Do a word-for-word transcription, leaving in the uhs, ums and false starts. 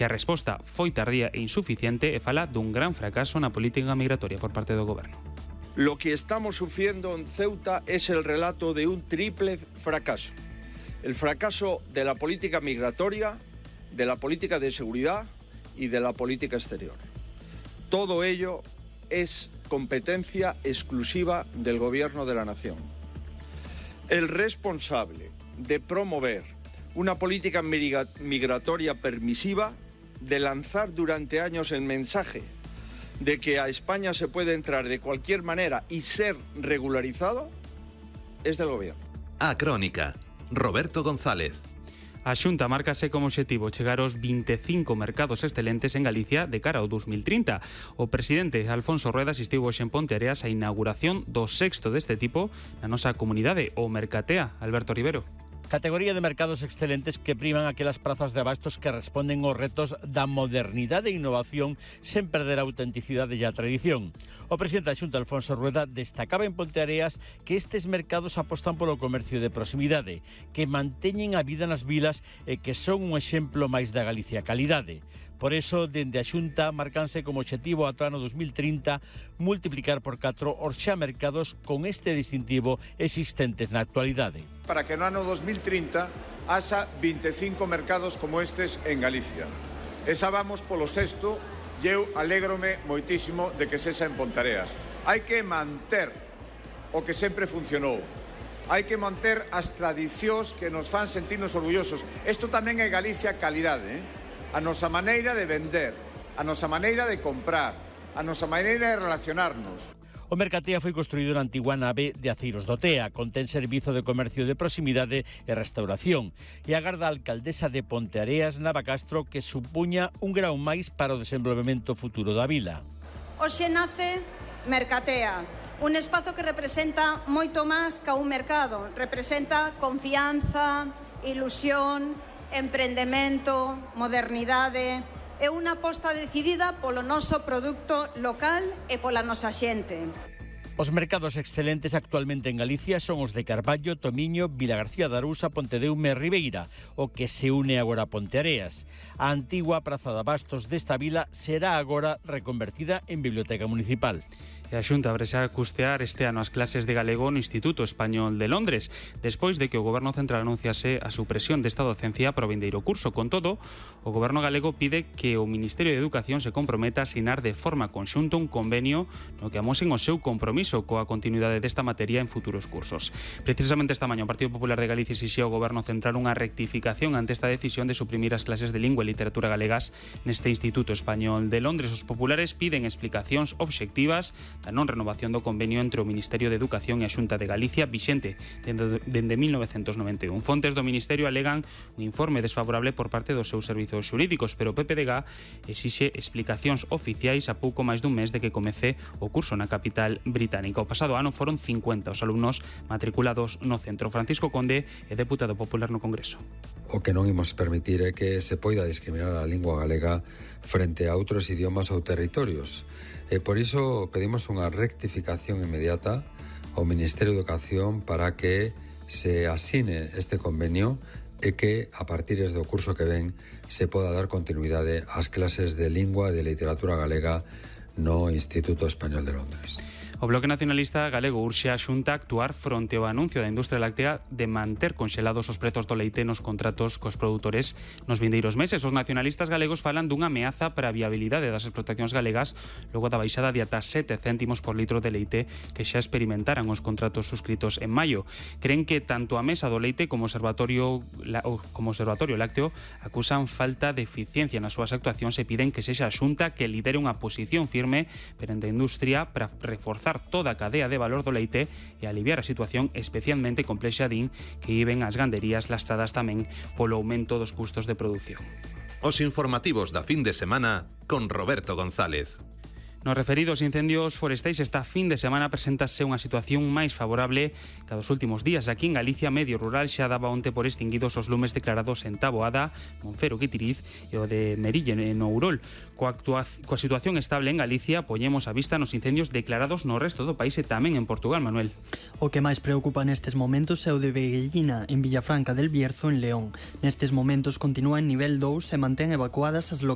E a resposta foi tardía e insuficiente e fala dun gran fracaso na política migratoria por parte do Goberno. Lo que estamos sufriendo en Ceuta es el relato de un triple fracaso. El fracaso de la política migratoria, de la política de seguridad y de la política exterior. Todo ello es competencia exclusiva del Gobierno de la Nación. El responsable de promover una política migratoria permisiva, de lanzar durante años el mensaje de que a España se puede entrar de cualquier manera y ser regularizado, es del Gobierno. A Crónica, Roberto González. A Xunta márcase como obxectivo chegar aos vinte e cinco mercados excelentes en Galicia de cara ao dos mil trinta. O presidente Alfonso Rueda asistiu hoxe en Ponteareas á inauguración do sexto deste tipo na nosa comunidade, o Mercatea. Alberto Rivero. Categoría de mercados excelentes que priman aquelas prazas de abastos que responden aos retos da modernidade e innovación sen perder a autenticidade e a tradición. O presidente da Xunta, Alfonso Rueda, destacaba en Ponteareas que estes mercados apostan polo comercio de proximidade, que manteñen a vida nas vilas e que son un exemplo máis da Galicia calidade. Por eso, dende a Xunta, marcanse como obxectivo ata o ano dos mil trinta multiplicar por catro os xa mercados con este distintivo existentes na actualidade. Para que no ano dos mil trinta haxa vinte e cinco mercados como estes en Galicia. Esa vamos polo sexto e eu alégrome moitísimo de que sexa en Ponteareas. Hai que manter o que sempre funcionou. Hai que manter as tradicións que nos fan sentirnos orgullosos. Isto tamén é Galicia calidade, eh? A nosa maneira de vender, a nosa maneira de comprar, a nosa maneira de relacionarnos. O Mercatea foi construído na antigua nave de Aceiros do Tea, contén servizo de comercio de proximidade e restauración, e agarda a alcaldesa de Ponteareas, Nava Castro, que supuña un grau máis para o desenvolvemento futuro da vila. Hoxe nace Mercatea, un espazo que representa moito máis que un mercado, representa confianza, ilusión, emprendemento, modernidade e unha aposta decidida polo noso produto local e pola nosa xente. Os mercados excelentes actualmente en Galicia son os de Carballo, Tomiño, Vilagarcía de Arousa, Pontedeume e Ribeira, o que se une agora a Ponteareas. A antigua praza de abastos desta vila será agora reconvertida en biblioteca municipal. E a Xunta abrese a custear este ano as clases de galego no Instituto Español de Londres, despois de que o Goberno Central anunciase a supresión desta docencia para o vindeiro curso. Con todo, o Goberno galego pide que o Ministerio de Educación se comprometa a asinar de forma conxunta un convenio no que amosen o seu compromiso coa continuidade desta materia en futuros cursos. Precisamente esta mañá o Partido Popular de Galicia exixía ao Goberno Central unha rectificación ante esta decisión de suprimir as clases de lingua e literatura galegas neste Instituto Español de Londres. Os populares piden explicacións obxectivas da non renovación do convenio entre o Ministerio de Educación e a Xunta de Galicia vixente dende, dende mil novecentos noventa e un. Fontes do Ministerio alegan un informe desfavorable por parte dos seus servizos xurídicos, pero o P P D G exixe explicacións oficiais a pouco máis dun mes de que comece o curso na capital británica. O pasado ano foron cincuenta os alumnos matriculados no centro. Francisco Conde é deputado popular no Congreso. O que non imos permitir é que se poida discriminar a lingua galega frente a outros idiomas ou territorios. E por iso pedimos unha rectificación inmediata ao Ministerio de Educación para que se asine este convenio e que a partir do curso que ven se poda dar continuidade ás clases de lingua e de literatura galega no Instituto Español de Londres. O Bloque Nacionalista Galego urxe a Xunta a actuar fronte ao anuncio da industria láctea de manter conxelados os prezos do leite nos contratos cos produtores nos vindeiros meses. Os nacionalistas galegos falan dunha ameaza para a viabilidade das explotacións galegas logo da baixada de ata sete céntimos por litro de leite que xa experimentaran os contratos suscritos en maio. Creen que tanto a Mesa do Leite como o Observatorio, como o Observatorio Lácteo acusan falta de eficiencia nas súas actuacións e piden que sexa a Xunta que lidere unha posición firme perante a industria para reforzar toda a cadea de valor do leite e aliviar a situación especialmente complexa din que viven as ganderías lastradas tamén polo aumento dos custos de produción. Os informativos da fin de semana con Roberto González. Nos referidos incendios forestais, esta fin de semana presentase unha situación máis favorable que a dos últimos días. Aquí en Galicia, Medio Rural xa daba onte por extinguidos os lumes declarados en Taboada, Moncero, Guitiriz e o de Merille, en Ourol. Coa, coa situación estable en Galicia, poñemos a vista nos incendios declarados no resto do país e tamén en Portugal, Manuel. O que máis preocupa nestes momentos é o de Veguellina, en Villafranca del Bierzo, en León. Nestes momentos continúa en nivel dous e mantén evacuadas as localidades